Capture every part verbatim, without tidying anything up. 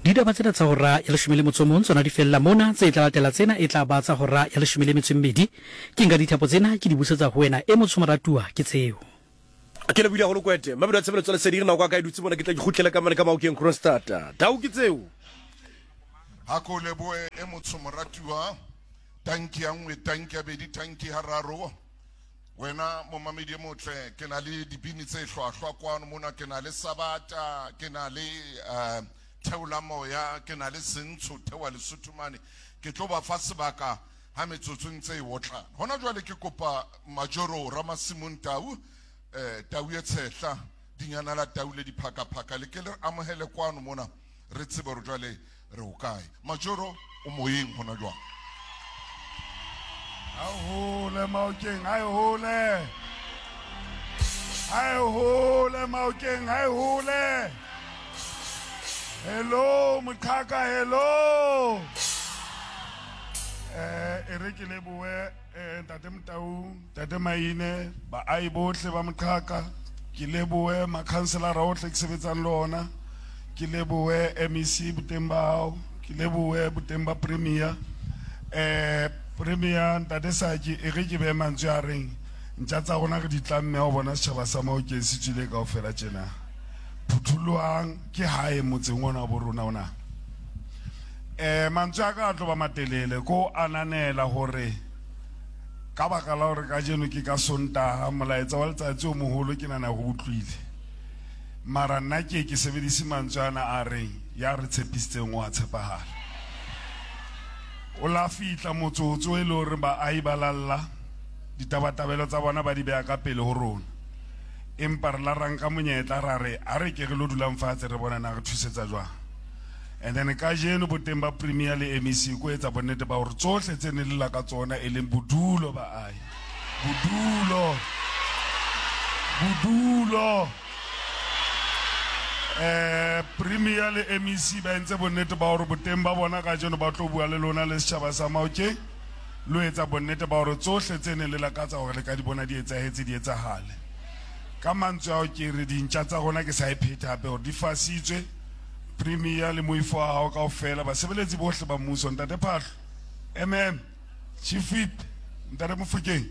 Ditaba tsena tsa hora ya leshome le motso o mong tsona di fella mona. Tse tla latela tsena e tla ba tsa hora ya leshome le metso e mmedi. Ke nka dithapo tsena ke di busetsa ho wena e motsho moratuwa ke tseo. Ke lebohile haholo Kwete. Mabelo a tshebeletso ya lesedi re nako ya ka e dutse mona ke tla ke kgutlele ka mane ka Maokeng Kroonstad. Tau ke tseo. Ha ko lebohe e motsho moratuwa. Tanki ya nngwe, tanki ya bedi, tanki ya raro. Wena momamedi e motle, ke na le dibini tse hlwahlwa kwano mona, ke na le Sabata, ke na le uh, Theola Moya, ke na le Sentsho Theoa Lesotho mane. Ke tlo ba fa sebaka ha metsotso e ntse e otlana. Hona jwale ke kopa Majoro Ramasimong Tau, eh, Tau e tshehla, dinyana la tau le diphakaphaka, le ke le re amohele kwano mona, re tsebe hore jwale re ho kae. Majoro o moyeng hona jwale. Ha hole Maokeng, ha e hole. Ha e hole Maokeng, ha e hole. Hello Moqhaka, hello. Eh, e re ke lebohe eh, Ntate Motau, Ntate Maine, baahi bohle ba Moqhaka. Ke lebohe makhanselara ohle ke sebetsang le ona. Ke lebohe M E C boteng ba hao, ke lebohe boteng ba Premier. Eh, Premier Ntate Saki, e re ke behe mantswe a reng ntja tsa rona re di tlamme ha o bona setjhaba sa Maokeng se tswile kaofela tjena. Phuthulohang ke hae motseng ona wa bo rona ona. Eh, mantswe a ka a tlo ba matelele ko ananela hore ka baka la hore kajeno ke ka Sontaha, molaetsa wa letsatsi o moholo ke nahana ho utlwile. Mara nna ke ke sebedise mantswe ana a reng ya re tshepisitseng o a tshepahala. O la fihla motsotso e le hore baahi ba lalla ditabatabelo tsa bona ba di beha ka pele ho rona. Empa re la ra nka monyetla ra re a re ke re lo dulang fatshe re bona na re thusetsa jwang. And then kajeno boteng ba Premier le M E C ko etsa bonnete ba hore tsohle tse ne le la ka tsona e leng bodulo baahi. Bodulo. Bodulo. Eh, Premier le M E C ba entse bonnete ba hore boteng ba bona kajeno ba tlo bua le lona le setjhaba sa Maokeng. Lo etsa bonnete ba hore tsohle tse neng le lakatsa hore le ka di bona di etsahetse di etsahale. Ka mantswe ao ke re dintja tsa rona ke sa e phethe hape hore di fasitswe. Premier le moifo wa hao kaofela, basebeletsi bohle ba mmuso, Ntate Phahlo, M M, Chief Whip, Ntate Mofokeng,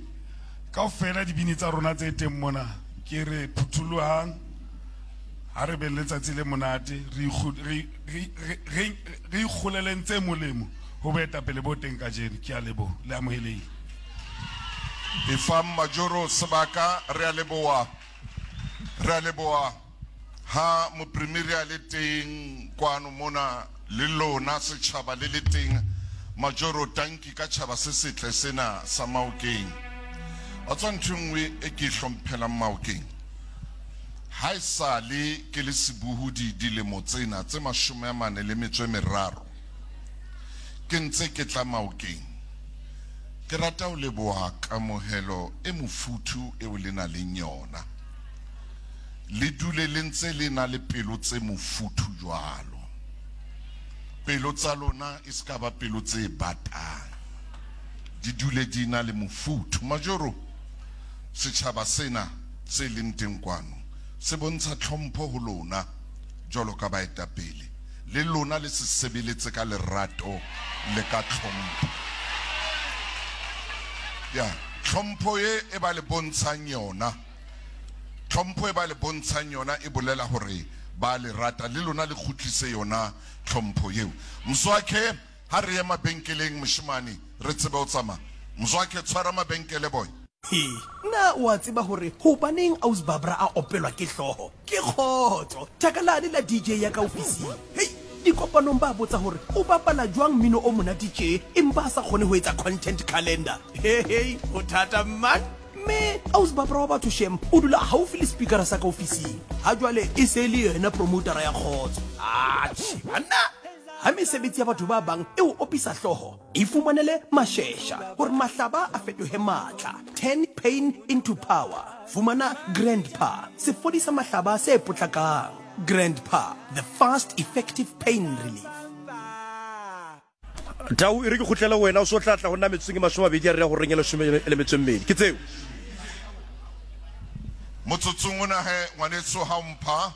kaofela dibini tsa rona tse teng mona, ke re phuthulohang, ha re beng letsatsi le monate, re ikgu-, re, re, re, re, re ikgoleleng tse molemo ho boetapele bo teng kajeno. Ke a leboha, le amohelehile. Efang Majoro sebaka, re a leboha, re a leboha ha mopremiri a le teng kwano mona le lona setjhaba le le teng. Majoro, tanki ka tjhaba se setle sena sa Maokeng. Wa tswa ntho e nngwe e ke e hlomphelang Maokeng, ha e sale ke le sebohodi dilemo tsena tse mashome a mane le metso e meraro ke ntse ke tla Maokeng, ke rata ho leboha kamohelo e mofuthu eo le nang le yona. Le dule le ntse le na le pelo tse mofuthu jwalo. Pelo tsa lona e se ka ba pelo tse batang, di dule di na le mofuthu. Majoro, setjhaba sena se leng teng kwano se bontsha tlhompho ho lona jwalo ka baetapele. Le lona le se sebeletse ka lerato le ka tlhompho. Ya, tlhompho e e ba le bontshang yona, tlhompho e ba le bontshang yona e bolela hore ba le rata, le lona le kgutlise yona tlhompho eo. Mzwakhe, ha re ye mabenkeleng moshemane, re tsebe ho tsamaya. Mzwakhe, tshwara mabenkele boy. He, na o a tseba hore hobaneng Aus Barbara a opelwa ke hlooho? Ke kgotso, thaka lane la D J ya ka ofising. Hei, dikopanong ba botsa hore o bapala jwang mmino o monate tje empa a sa kgone ho etsa content calendar. He hei, ho thata man. Mme Aus Barbara wa batho shem o dula haufi le speakera sa ka ofising. Ha jwale e se le yena promotera ya kgotso. Atjhe, banna. Ha mesebetsi ya batho ba bang e o opisa hlooho, e fumanele mashesha hore mahlaba a fetohe matla. Turn pain into power. Fumana Grandpa, sefodisa mahlaba se potlakang. Grandpa, the fast effective pain relief. Tau, e re ke kgutlele ho wena, o so tla tla ho nna metsotsong e mashome a mabedi a re ya horeng ya leshome le metso e mmedi. Ke tseo. Motsotsong ona he, ngwaneso, ha o mpha,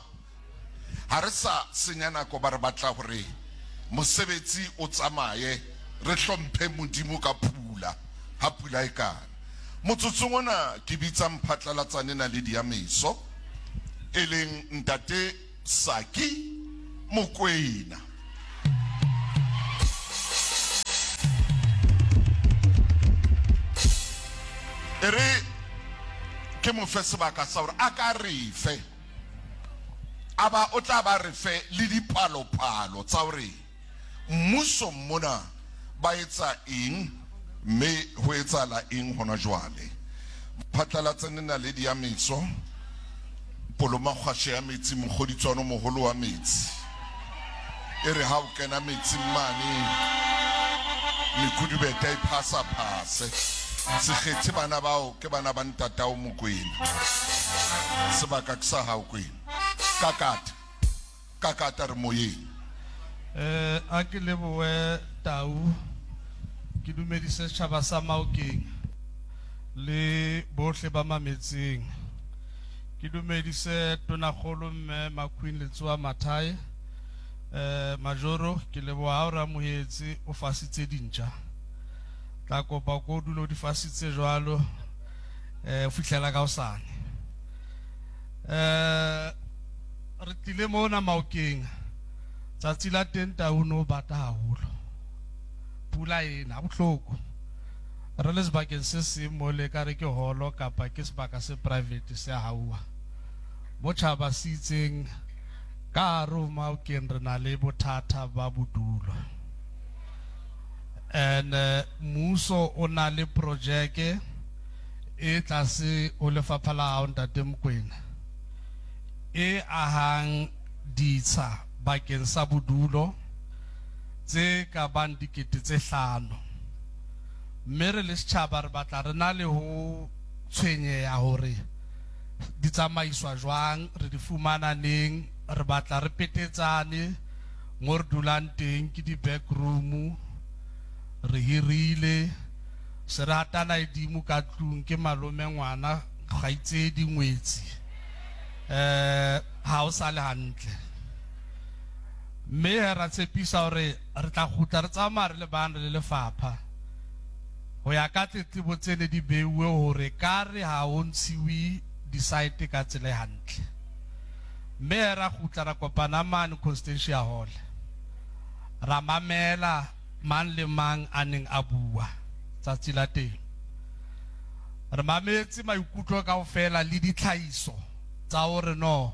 ha re sa senya nako ba re batla hore Mosebetsi o tsamaye, re hlomphe Modimo ka pula, ha pula e kana. Motsotsong ona ke bitsa mphatlalatsane naledi ya meso, e leng ntate Saki Mokoena. E re ke mo fe sebaka sa hore a ka re fe, a ba o tla ba re fe le dipalopalo tsa hore mmuso mona ba etsa eng mme ho etsahala eng hona jwale. Phatlalatsane naledi ya meso, Polomakgwashe ya metsi, mokgoditswano moholo wa metsi. E re ha o kena metsing mane, mekudubete e phasa-phase. Se kgethe bana bao, ke bana ba ntatao Mokoena. Sebaka ke sa hao Kwena. Kakata, kakata re moyeng. Eh, a ke lebohe Tau, ke dumedise setjhaba sa Maokeng le bohle ba mametseng. Ke dumedise Tonakgolo mme Maqueen Letsoha Mathae. Eh, Majoro, ke leboha ha o re amohetse, o fasitse dintja. Tla kopa ko dule o di fasitse jwalo, eh, ho fihlela ka hosane. Eh, re tlile mona Maokeng. Tsatsi la teng Tau no bata haholo. Pula ena bohloko. Re le sebakeng se seng mo le ka re ke holo kapa ke sebaka se private se hauwa. Mo tjhaba se itseng ka hare ho Maokeng re na le bothata ba bodulo. And eh, mmuso o na le projeke e tlase ho lefapha la hao ntate Mokoena, e ahang ditsha bakeng sa bodulo tse ka bang dikete tse hlano. Mme re le setjhaba re batla re na le ho tshwenyeha hore di tsamaiswa jwang, re di fumana neng, re batla re petetsane mo re dulang teng ke di-back room, re hirile, se re hatana edimo ka tlung ke malome ngwana, kgaitsedi, ngwetsi. Eh, ha o sa le hantle. Mme ra tshepisa hore re tla kgutla re tsamaya re le bang re le lefapha. Ho ya ka tletlebo tse ne di beuwe hore ka re ha ho ntshiwe di-site ka tsela e hantle. Mme ra kgutla ra kopana mane Constantia Hall. Ra mamela mang le mang a neng a bua tsatsi la teng. Re mametse maikutlo kaofela le ditlhahiso tsa hore no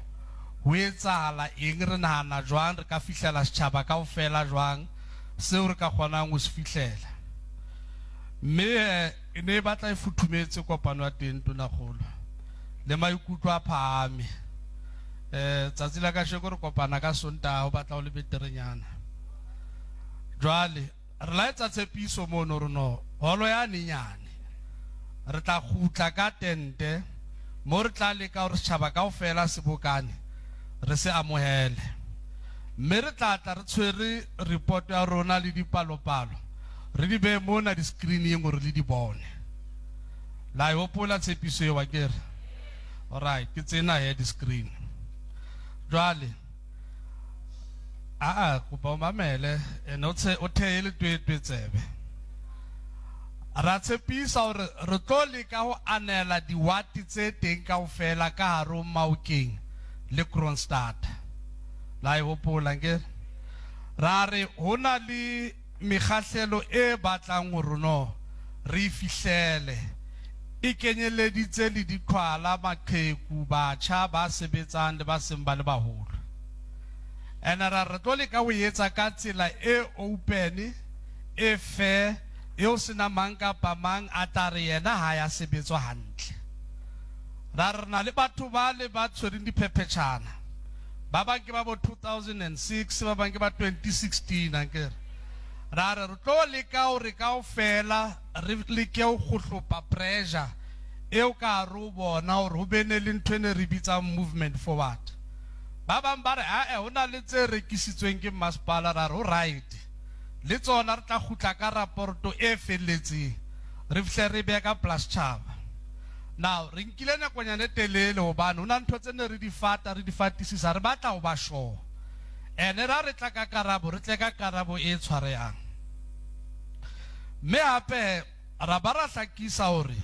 ho etsahala eng, re nahana jwang, re ka fihlela setjhaba kaofela jwang, seo re ka kgonang ho se fihlela. Mme, eh, e ne e batla e futhumetse kopano ya teng Tonakgolo, le maikutlo a phahame. Eh, tsatsi la kasheko re kopana ka Sontaha, ho batla ho le beterenyana. Jwale re la etsa tshepiso mono re no holo ya nenyane re tla kgutla ka tente mo re tla leka hore setjhaba kaofela se bokane re se amohele. Mme re tla tla re tshwere report ya rona le dipalopalo, re di behe mona di-screening hore le di bone. La e hopola tshepiso eo akere? Alright, ke tsena he di-screen. Jwale aa kopa o mamele ene o tshe o theye le twetwe tsebe. Ra tshepisa hore re tlo leka ho anela diwati tse teng kaofela ka hare ho Maokeng le Kroonstad. La e hopola nke? Ra re ho na le mekgahlelo e batlang hore no re e fihlele, e kenyeleditse le diqhwala, maqheku, batjha ba sebetsang le ba seng ba le baholo. Ene ra re tlo leka ho etsa ka tsela e open, e fair, eo sena mang kapa mang a tla re yena ha ya sebetswa hantle. Ra re na le batho ba le ba tshwereng diphephetjhana, ba bang ke ba bo two thousand and six, ba bang ke ba twenty sixteen akere. Ra re re tlo leka hore kaofela re leke ho kgohlopa pressure eo ka hare ho bona hore ho be ne le ntho e ne re bitsang movement forward. Ba bang ba re ae ho na le tse rekisitsweng ke masepala, ra re ho right, le tsona re tla kgutla ka raporto e felletseng re fihle re behe ka plus tjhaba. Now re nkile nakonyana e telele hobane ho na ntho tse ne re di fata, re di fatisisa, re batla ho ba sure. Ene ra re tla ka karabo, re tle ka karabo e tshwarehang. Mme hape ra ba ra hlakisa hore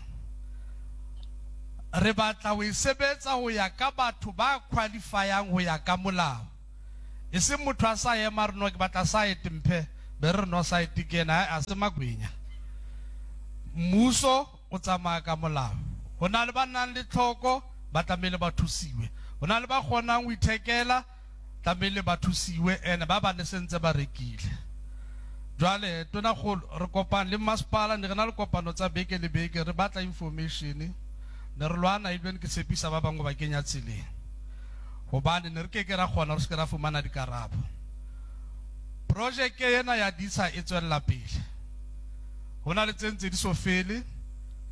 re batla ho e sebetsa ho ya ka batho ba qualifyang ho ya ka molao. E seng motho a sa ema re no ke batla site mphe, be re no site ke ena, a se magwenya. Mmuso o tsamaya ka molao. Ho na le ba nang le tlhoko, ba tlamehile ba thusiwe. Ho na le ba kgonang ho ithekela, tlamehile ba thusiwe, ene ba ba ne sentse ba rekile. Jwale tonakgolo re kopane le masepala, ne re na le kopano tsa beke le beke, re batla information. Ne re lwana ebile ke tshepisa ba bangwe ba kenya tseleng, hobane ne re ke ke ra kgona re se ke ra fumana dikarabo. Projeke ena ya ditsha e tswella pele. Ho na le tse ntse di so fele,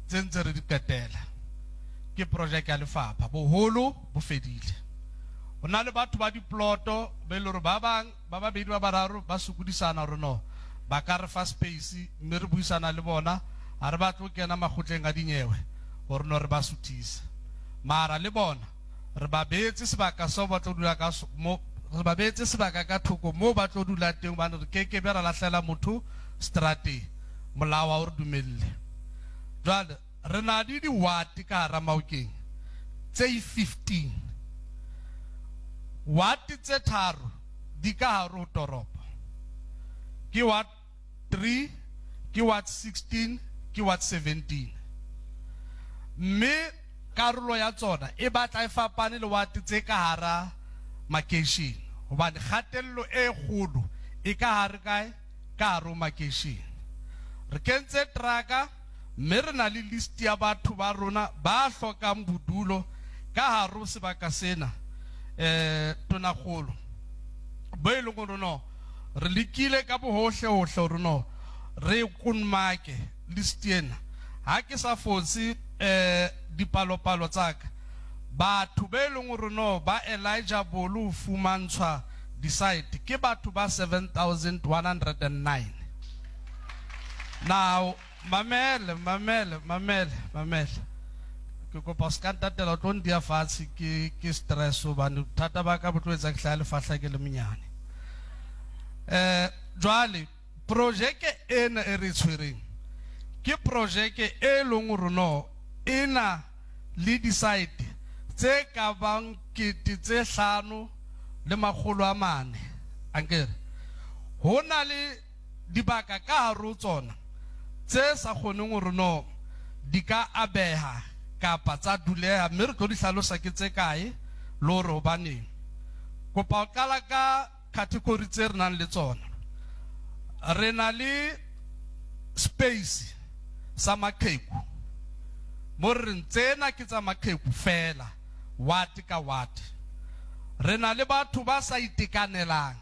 tse ntse re di qetela. Ke projeke ya lefapha, boholo bo fedile. Ho na le batho ba diploto be le hore ba bang ba babedi ba bararo ba sokodisana hore no ba ka re fa space, mme re buisana le bona, ha re batle ho kena makgotleng a dinyewe hore no re ba suthise. Mara le bona re ba beetse sebaka seo ba tlo dula ka so-, mo, re ba beetse sebaka ka thoko moo ba tlo dula teng, hobane re keke be ra lahlela motho strateng, molao ha o re dumelle. Jwale re na le di-ward ka hara Maokeng tse fifteen. Ward tse tharo di ka hare ho toropo. Ke ward three, ke ward sixteen, ke ward seventeen. Mme karolo ya tsona e batla e fapane le ward tse ka hara makeishene, hobane kgatello e kgolo e ka hare kae? Ka hare ho makeishene. Re kentse trucka, mme re na le list ya batho ba rona ba hlokang bodulo ka hare ho sebaka sena, eh, tonakgolo. Bo e leng hore no re lekile ka bohohle hohle hore no re konmake list ena. Ha ke sa fotse, eh, dipalopalo tsa ka, batho be leng hore no ba eligible ho fumantshwa di-site ke batho ba seven thousand one hundred and nine. Now, mamele, mamele, mamele, mamele. Ke kopa o ska ntatela, o tlo ntia fatshe ke, ke stress hobane bothata ba ka bo tlo etsa ke hlahe lefahla ke le monyane. Eh, jwale projeke ena e re tshwereng ke projeke e leng hore no e na le di-site tse ka bang kete tse hlano le makgolo a mane. Ankere ho na le dibaka ka hare ho tsona tse sa kgoneng hore no di ka abeha kapa tsa duleha, mme re tlo di hlalosa ke tse kae le hore hobaneng. Kopa ho qala ka category tse re nang le tsona. Re na le space sa maqheku, mo re reng tsena ke tsa maqheku fela, ward ka ward. Re na le batho ba sa itekanelang,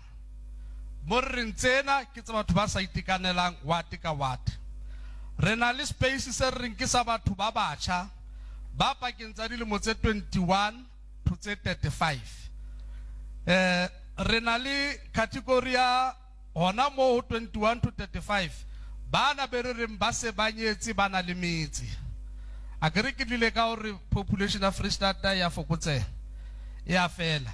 mo re reng tsena ke tsa batho ba sa itekanelang, ward ka ward. Re na le space se re reng ke sa batho ba batjha ba pakeng tsa dilemo tse twenty-one to tse thirty-five. Eh, re na le category ya hona moo ho twenty-one to thirty-five, bana be re reng ba se ba nyetse, ba na le metse. A ke re ke tlile ka hore population ya Freistata ya fokotseha, e a fela.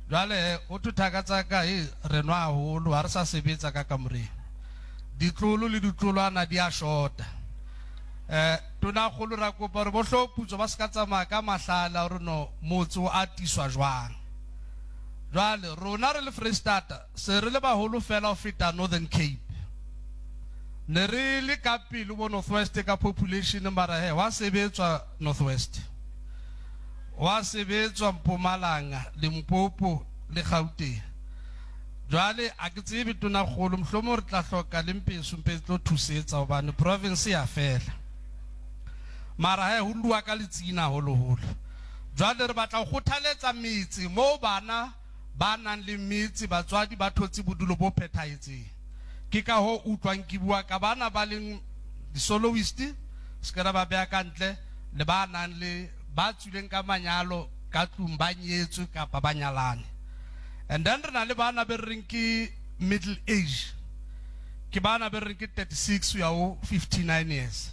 Jwale ho thwe thaka tsa ka, he, re nwa haholo, ha re sa sebetsa ka kamoreng. Ditlolo le ditlolwana di a shota. Eh, tonakgolo ra kopa hore bo hloputso ba se ka tsamaya ka mahlala hore no motse o atiswa jwang. Jwale rona re le Freistata se re le baholo fela ho feta Northern Cape. Ne re le ka pele bo North West ka population, mara he wa sebetswa North West, wa sebetswa Mpumalanga, Limpopo le Gauteng. Jwale a ke tsebe tonakgolo, mohlomong re tla hloka le mpeso, mpe tlo thusetsa hobane province ya fela. Mara he ho lua ka letsina haholoholo. Jwale re batla ho kgothaletsa metse moo bana ba nang le metse, batswadi ba thotse bodulo bo phethahetseng. Ke ka hoo utlwang ke bua ka bana ba leng di-soloist, se ke ra ba beha ka ntle, le ba nang le ba tswileng ka manyalo ka tlung, ba nyetswe kapa ba nyalane. And then re na le bana be re reng ke middle age, ke bana be re reng ke thirty-six ho ya ho fifty-nine years.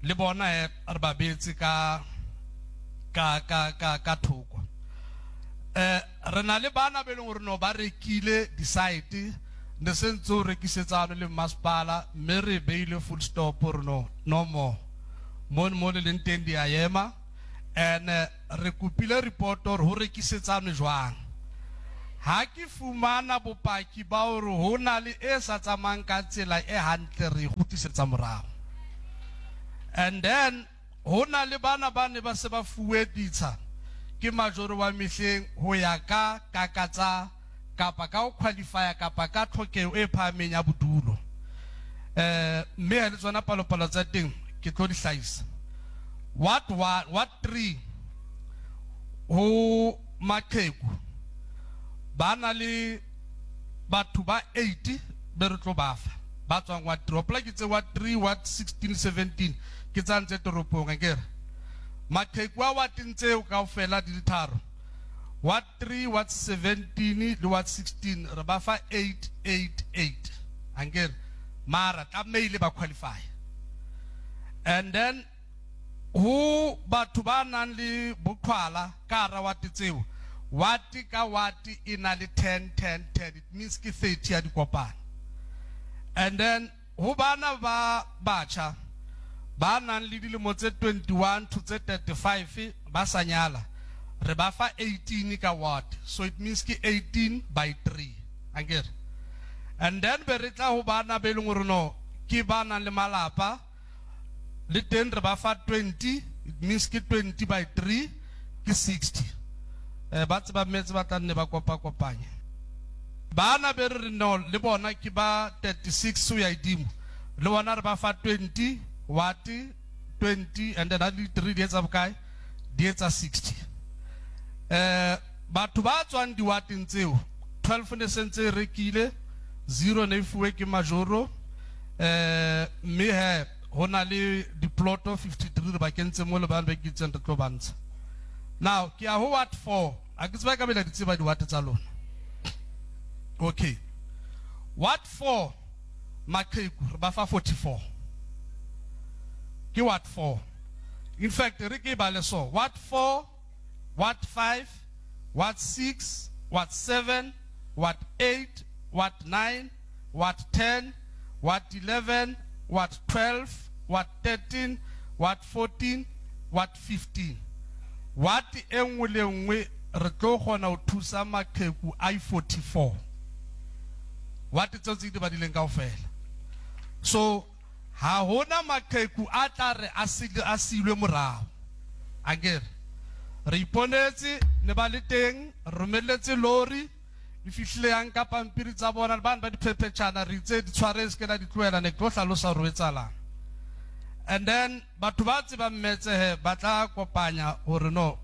Le bona he re ba beetse ka, ka, ka, ka, ka thoko. Eh re na le bana be leng hore no ba rekile di-site ne se ntse o rekisetsano le masepala mme re beile full stop hore no no more mo mo le leng teng di a ema and re kopile report hore ho rekisetsano jwang. Ha ke fumana bopaki ba hore ho na le e sa tsamayang ka tsela e hantle re kgutlisetsa morao. And then ho na le bana ba ne ba se ba fuwe ditsha ke majoro wa mehleng ho ya ka kakatsa kapa ka ho qualify kapa ka tlhokeho e phahameng ya bodulo. Eh mme le tsona palopalo tsa teng ke tlo di hlahisa. What one, what three ho maqheku ba na le batho ba eight be re tlo ba fa ba tswang wa three. Hopola ke tse wa three, wa sixteen, seventeen ke tsa ntse toropong akere. Maqheku a wateng tseo kaofela di le tharo, wa three, wa seventeen le wa sixteen re ba fa eight, eight, eight ankere, mara tlamehile ba qualify. And then ho batho ba nang le boqhwala ka hara wate tseo, wate ka wate e na le ten, ten, ten, it means ke thirty ya dikopano. And then ho bana ba batjha ba nang le dilemo tse twenty-one to tse thirty-five ba sa nyala, re ba fa eighteen ka ward, so it means ke eighteen by three ankere. And then be re tla ho bana be leng hore no ke ba nang le malapa le teng re ba fa twenty, it means ke twenty by three ke sixty. Eh ba tseba metse ba tla nne ba kopa kopanya. Bana be re no le bona ke ba thirty-six ho ya hodimo, le bona re ba fa twenty what twenty and then ha di three di etsa bokae, di etsa sixty. Eh batho ba tswang diwateng tseo twelve ne sentse rekile, zero ne fuwe ke majoro, eh mme he ho na le diploto fifty-three re ba kentse mo le bana ba kitseng re tlo bantsha. Now ke ya ho ward four, a ke tseba ka bela di tseba diwate tsa lona. Okay, ward four maqheku re ba fa forty-four. Ke ward four. In fact re ke ba le so ward four, ward five, ward six, ward seven, ward eight, ward nine, ward ten, ward eleven, ward twelve, ward thirteen, ward fourteen, ward fifteen. Ward e nngwe le nngwe re tlo kgona ho thusa maqheku a forty-four. Ward tseo tse di badileng kaofela. So ha hona maqheku a tla re a silwe morao. Akere re iponetse ne ba le teng, romelletse lori e fihlile yang ka pampiri tsa bona, bana ba diphephetjhana re itse di tshware se ke la di tlohela, ne ke tlo hlalosa hore ho etsahalang. And then batho ba tsebang metse he ba tla kopanya hore no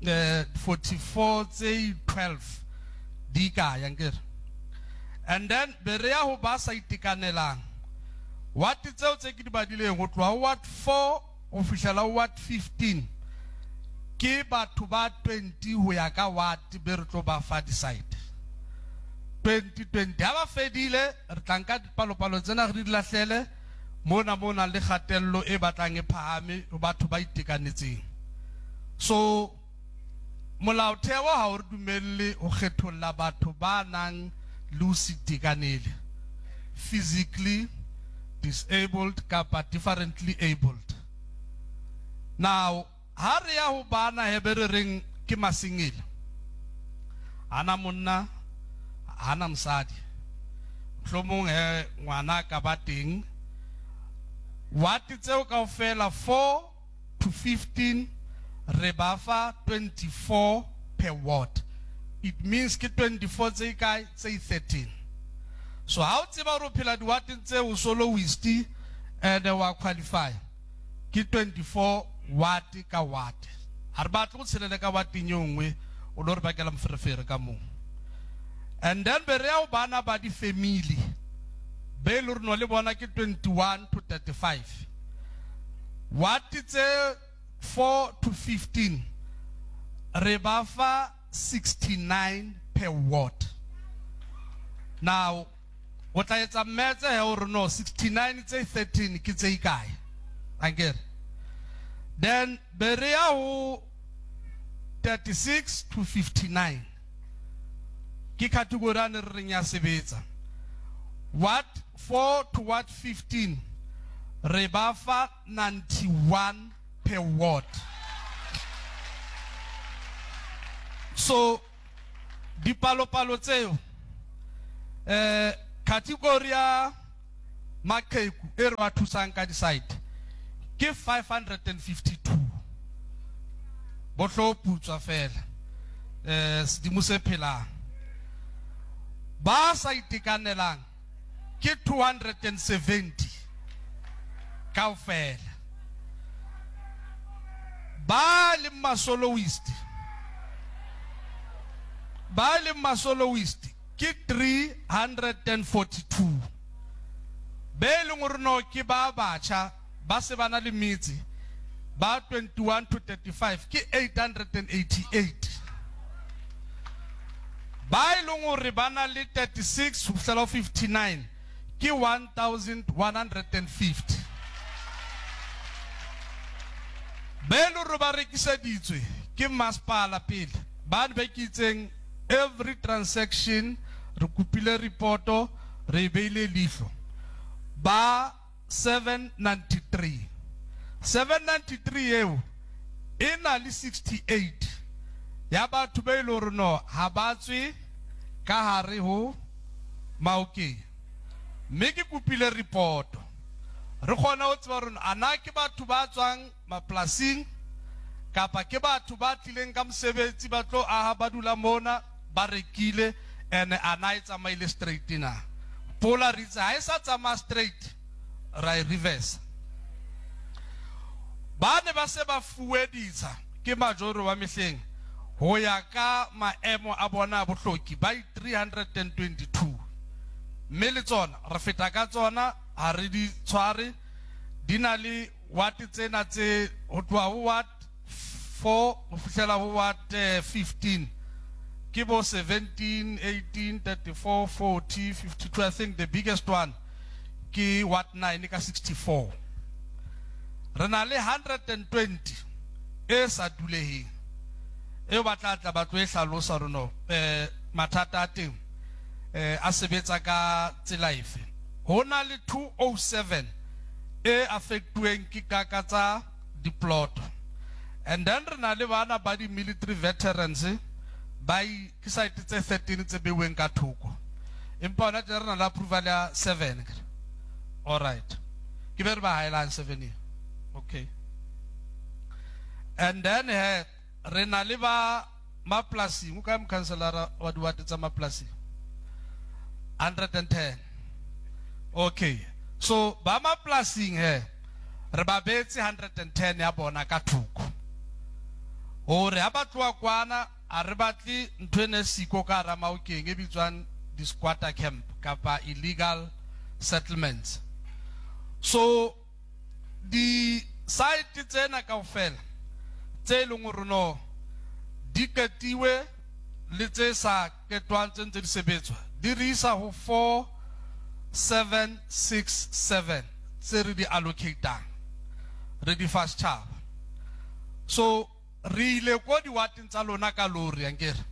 eh forty-four tse twelve di kae ankere. And then be re ya ho ba sa itekanelang, ward tseo tse ke di badileng ho tloha ward four ho fihlela ward fifteen ke batho ba twenty ho ya ka ward be re tlo ba fa di-site. twenty twenty ha ba fedile re tla nka dipalopalo tsena re di lahlele mona mona le kgatello e batlang e phahame ho batho ba itekanetseng. So molaotheo ha o re dumelle ho kgetholla batho ba nang le ho se itekanele, physically disabled kapa differently abled. Now ha re ya ho bana he be re reng ke masingele, hana monna hana mosadi, mohlomong he ngwana ka ba teng, ward tseo kaofela four to fifteen re ba fa twenty-four per ward. It means ke twenty-four tse kae, tse thirteen. So ha o tseba hore o phela diwateng tse o soloist and wa qualify, ke twenty-four ward ka ward. Ha re batle ho tshelela ka wardeng e nngwe o lo re bakela moferefere ka moo. And then be re ya ho bana ba di-family be le rona le bona ke twenty-one to thirty-five. Ward tse four to fifteen re ba fa sixty-nine per ward. Now o tla etsa mmetse he hore no sixty-nine tse thirteen ke tse ikae ankere. Then be re ya ho thirty-six to fifty-nine ke category a ne re reng ya sebetsa. Ward four to ward fifteen re ba fa ninety-one per ward. So dipalopalo tseo, eh, category ya maqheku e re ba thusang ka di-site ke five hundred and fifty-two. Bo hlo putswa fela, eh, sedimo se phelang. Ba sa itekanelang ke two hundred and seventy kaofela. Ba leng masoloist, ba leng masoloist ke three hundred and forty-two. Be leng hore no ke ba batjha ba se ba na le metse ba twenty-one to thirty-five ke eight hundred and eighty-eight. Ba e leng hore ba na le thirty-six ho fihlela ho fifty-nine ke one thousand one hundred and fifty. Be e leng hore ba rekiseditswe ke masepala pele, ba ne ba ke itseng every transaction re kopile reporto, re e beile leihlo. Ba seven ninety-three. seven ninety-three eo e na le sixty-eight ya batho ba e leng hore no ha ba tswe ka hare ho Maokeng. Mme ke kopile reporto re kgone ho tseba hore a na ke batho ba tswang mapolasing kapa ke batho ba tlileng ka mosebetsi ba tlo aha ba dula mona ba rekile, ene a na e tsamaile straight na. Pola re itse ha e sa tsamaya straight ra e reverse. Ba ne ba se ba fuwe ditsha ke majoro wa mehleng ho ya ka maemo a bona a bohloki ba three hundred and twenty-two. Mme le tsona re feta ka tsona, ha re di tshware, di na le ward tsena tse ho tloha ho ward four ho fihlela ho ward, eh, fifteen. Ke bo seventeen, eighteen, thirty-four, forty, fifty-two. I think the biggest one ke ward nine ka sixty-four. Re na le hundred and twenty e sa duleheng. Eo ba tla tla ba tlo e hlalosa hore no, eh, mathata a teng, eh, a sebetsa ka tsela efe. Ho na le two oh seven e affectuweng ke kaka tsa diplot. And then re na le bana ba di military veterans ba i-, ke site tse thirteen tse beuweng ka thoko. Empa hona tje re na le approval ya seven. All right. Ke be re ba haelang seven e. Okay. And then he, re na le ba mapolasing, o kae mokhanselara wa diwate tsa mapolasing? hundred and ten. Okay. So ba mapolasing he, re ba beetse hundred and ten ya bona ka thoko. Hore ha ba tloha kwana, a re batle ntho e ne siko ka hara Maokeng e bitswang di-squatter camp kapa illegal settlements. So di-site tsena kaofela tse e leng hore no di qetiwe le tse sa qetwang tse ntse di sebetswa di re isa ho four seven six seven tse re di allocatang re di fa setjhaba. So re ile ko diwateng tsa lona ka lori ankere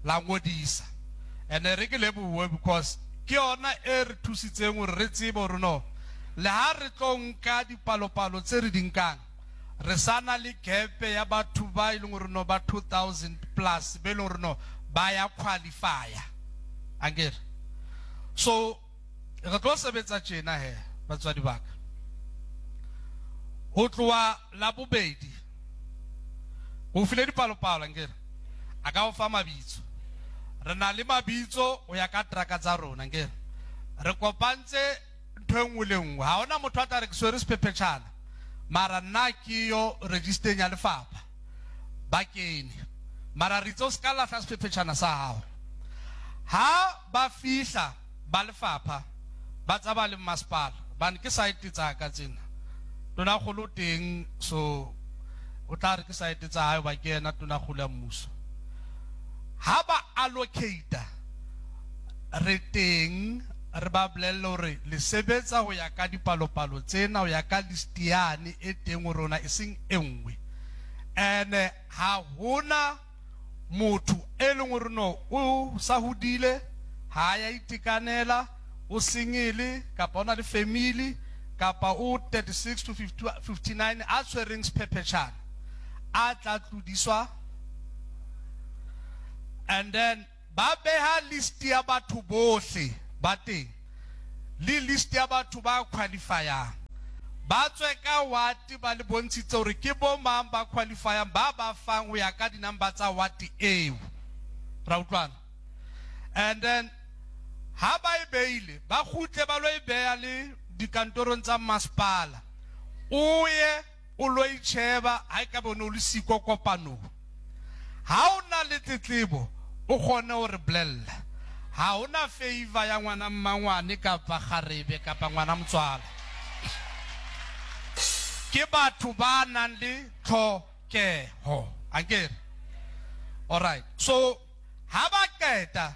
la ngodisa, ene re ke lebohe because ke yona e re thusitseng hore re tsebe hore no le ha re tlo nka dipalopalo tse re di nkang re sa na le gap ya batho ba e leng hore no ba two thousand plus be leng hore no ba ya qualify-a ankere. So re tlo sebetsa tjena he batswadi ba ka, ho tloha la bobedi ho file dipalopalo ankere, a ka o fa mabitso, re na le mabitso ho ya ka traka tsa rona ankere, re kopantse ntho e nngwe le nngwe, ha hona motho a tla re ke swere sephephetjhana mara nna ke yo register-eng ya lefapha ba kene, mara re itse o ska lahla sephephetjhana sa hao. Ha ba fihla ba lefapha ba tsamaya le masepala, bane ke site tsa ka tsena, tonakgolo teng, so o tla re ke site tsa hae ba ke yena tonakgolo ya mmuso. Ha ba allocate re teng re ba bolelle hore le sebetsa ho ya ka dipalopalo tsena, ho ya ka list yane e teng ho rona, e seng e nngwe. Ene ha hona Motho e leng hore no o sa hodile, ha ya itekanela, o single kapa o na le family kapa o thirty-six to fifty-nine a tshwereng sephephetjhana a tla tlodiswa. And then ba beha list ya batho bohle ba teng le list ya batho ba qualifyang, ba tswe ka ward ba le bontshitse hore ke bo mang ba qualifyang, ba ba fang ho ya ka di-number tsa ward eo. Ra utlwana? And then ha ba e beile, ba kgutle ba lo e beha le dikantorong tsa masepala, o ye o lo itjheba ha e ka be o ne o le siko kopanong. Ha o na le tletlebo o kgone ho re bolella. Ha hona favor ya ngwana mmangwane kapa kgarebe kapa ngwana motswala. Ke batho ba nang le tlhokeho. Akere? All right. So ha ba qeta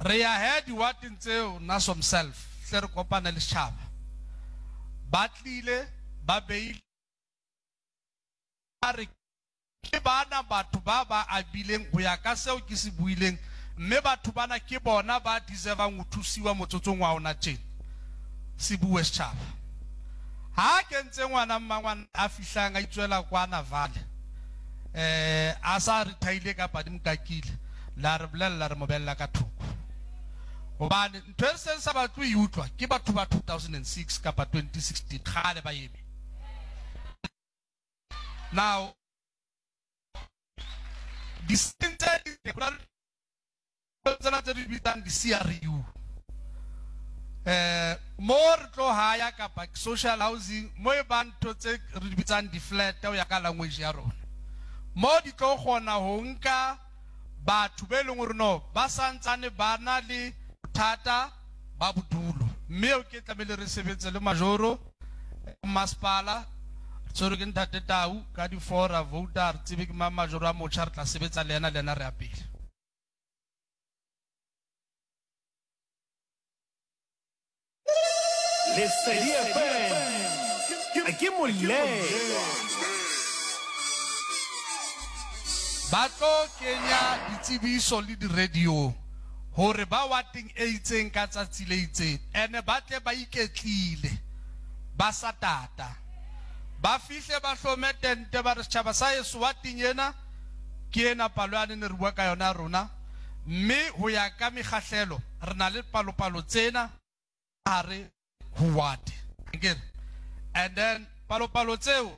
re ya he diwateng tseo nna somself hle re kopane le setjhaba. Ba tlile ba beile ba re ke bana batho ba ba abileng ho ya ka seo ke se buileng, mme batho bana ke bona ba deservang ho thusiwa motsotsong wa ona tjena. Se bue setjhaba. Ha ke ntse ngwana mmangwana a fihlang a itswela kwana Vale, eh a sa re thaile kapa di mokakile, la re bolella re mo bella ka thoko. Hobane ntho e seng sa batle ho e utlwa ke batho ba two thousand and six kapa twenty sixteen kgale ba eme. Now di-center tsena tse di bitsang di-C R U, eh mo re tlo haya kapa social housing mo e bang ntho tse re di bitsang di-flat ho ya ka language ya rona, mo di tlo kgona ho nka batho be leng hore no ba santsane ba na le bothata ba bodulo, mme eo ke tlamehile re sebetse le majoro masepala. Re tshwerwe ke ntate Tau ka di-four ra vouta, re tsebe ke mang majoro a motjha, re tla sebetsa le yena le yena re ya pele. Lesedi F M ke molemo. Ba tlo kenya ditsebiso le di-radio hore ba wateng e itseng ka tsatsi le itseng, ene ba tle ba iketlile ba sa tata, ba fihle ba hlome tente ba re setjhaba sa heso wateng ena ke ena palo yane ne re bua ka yona rona, mme ho ya ka mekgahlelo re na le palopalo tsena hare ho wate. Akere? And then palopalo tseo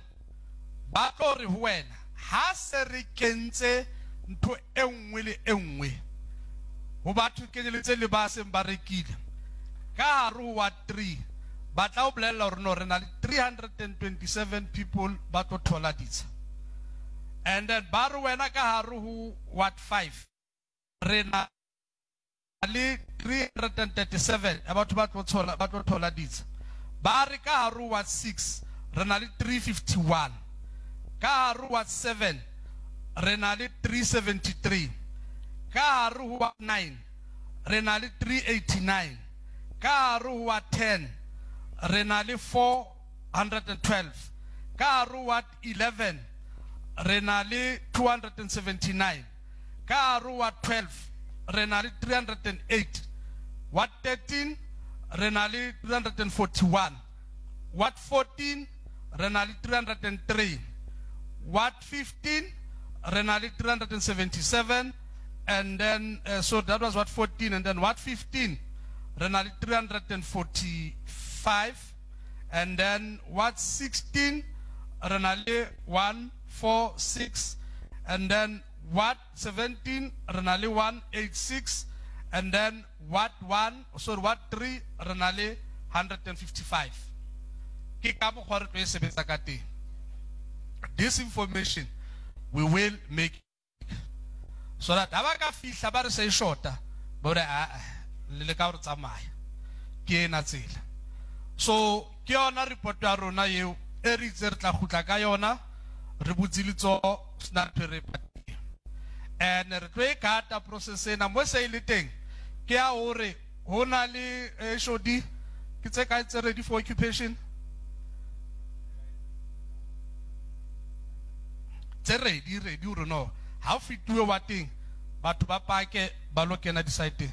ba tlo re ho wena ha se re kentse ntho e nngwe le e nngwe ho batho kenyeletse le ba seng ba rekile ka hare ho ward three, ba tla o bolella hore no re na le three hundred and twenty-seven people ba tlo thola ditsha. And then ba re wena ka hare ho ward five re na le three hundred and thirty-seven ya batho ba tlo thola, ba tlo thola ditsha. Ba re ka hare ho ward six re na le three fifty-one, ka hare ho ward seven re na le three seventy-three, ka hare ho ward nine re na le three eighty-nine, ka hare ho ward ten re na le four hundred and twelve, ka hare ho ward eleven re na le two hundred and seventy-nine, ka hare ho ward twelve re na le three hundred and eight, ward thirteen re na le three hundred and forty-one, ward fourteen re na le three hundred and three, ward fifteen re na le three hundred and seventy-seven, and then, uh, so that was ward fourteen, and then ward fifteen re na le three hundred and forty-five, and then ward sixteen re na le one four six, and then ward seventeen re na le one eight six, and then ward one, sorry, ward three re na le hundred and fifty-five. Ke ka mokgwa re tlo e sebetsa ka teng. This information we will make so that ha ba ka fihla ba re se e shota, ba re, ah, ah, le leka hore tsamaya. Ke ena tsela. So ke yona report ya rona eo e re itse re tla kgutla ka yona, re butse letsoho, sena ntho e re e patileng. And re tlo e kata process ena mo se e le teng ke ya hore ho na le, eh, H O D ke tse kae tse ready for occupation? Tse ready, ready hore no. Ha o fetuwe wateng, batho ba pake ba lo kena di-site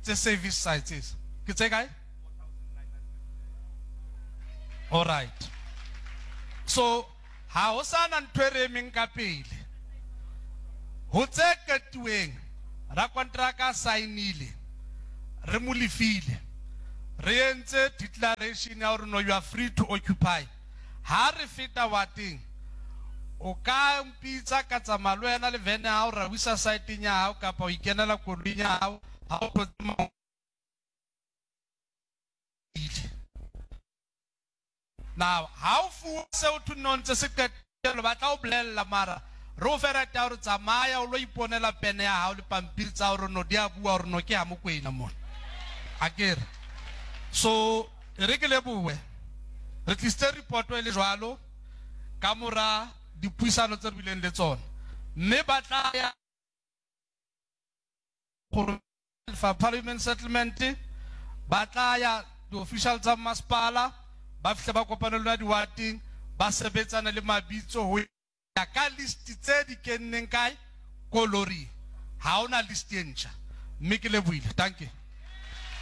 tse service sites. Ke tse kae? All right. So ha ho sana ntho e re emeng ka pele. Ho tse qetuweng, rakonteraka a saenile, re mo lefile. Re entse declaration ya hore no, you are free to occupy. Ha re feta wateng, o ka mpitsa ka tsamaya le wena le vene ya hao, ra o isa site-eng ya hao kapa o ikenela koloing ya hao, ha o thotse mangolo. Now, ha o fuwa seo thwe no ntse se qetelo, ba tla o bolella mara re o fe right ya hore tsamaya o lo iponela pene ya hao le pampiri tsa hore no di a bua hore no ke ha Mokoena mona. Akere. So, e re ke lebohe. Re tlisitse report e le jwalo ka mora dipuisano tse re bileng le tsona. Mme ba tla ya gore Lefapha la Human Settlement, ba tla ya di-official tsa masepala, ba fihle ba kopane le lona diwateng, ba sebetsana le mabitso ho ya ka list tse di kenneng kae ko loring. Ha hona list e ntjha. Mme ke lebohile. Thank you.